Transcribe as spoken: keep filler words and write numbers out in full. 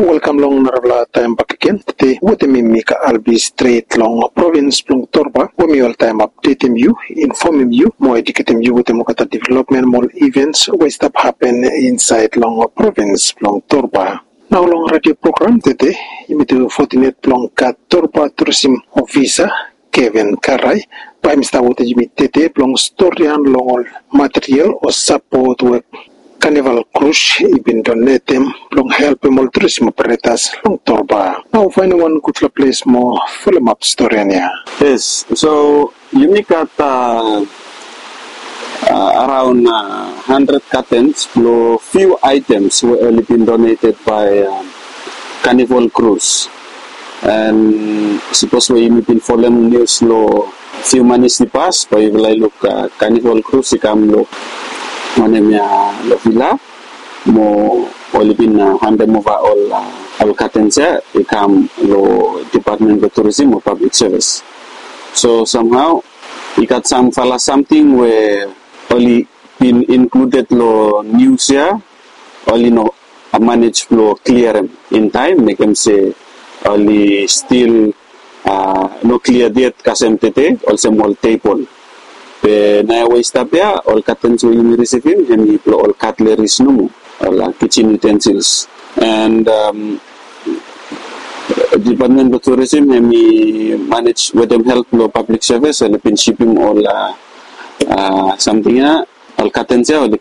Welkam long narafala taem bakegen. Tede wetem mi Mika Albi stret long provins blong Torba, we mi oltaem apdetem yu, infomem yu mo eduketem yu wetem olgeta developmen mo ol ivens we i stap hapen insaed long provins blong Torba. Nao long radio program tede, yumi tu fotinet blong gat Torba Tourism Officer Kevin Karai, bae hem i stap wetem yumi tede blong storian long ol material o sapot we Carnival Cruise i bin donetem blong helpem ol tourism operators long Torba. Nao faenem wan gudfala ples mo folem ap storian ya. Yes, so yumi gat araon handred katens blong few items we oli bin doneted by Carnival Cruise. And sipos we yumi bin folem nius long few manis i pas, bae yufala i luk Carnival Cruise i kam long wanem ya, long vila, mo oli bin handem ova ol ol katens ya i kam long Department blong Tourism o Public Service. So samhao i gat samfala samting we oli bin inkluded long nius ya, oli no manej blong kliarem in taem, mekem se oli stil no kliared yet kasem tede olsem ol tebol. Be naoia we i stap ya, ol katens we yumi risivim hemi blong ol katleris nomo, ol kijin utensils. And Department blong Tourism hemi manej wetem help blong Public Service, oli bin sipim ol samting ya, ol katens ya oli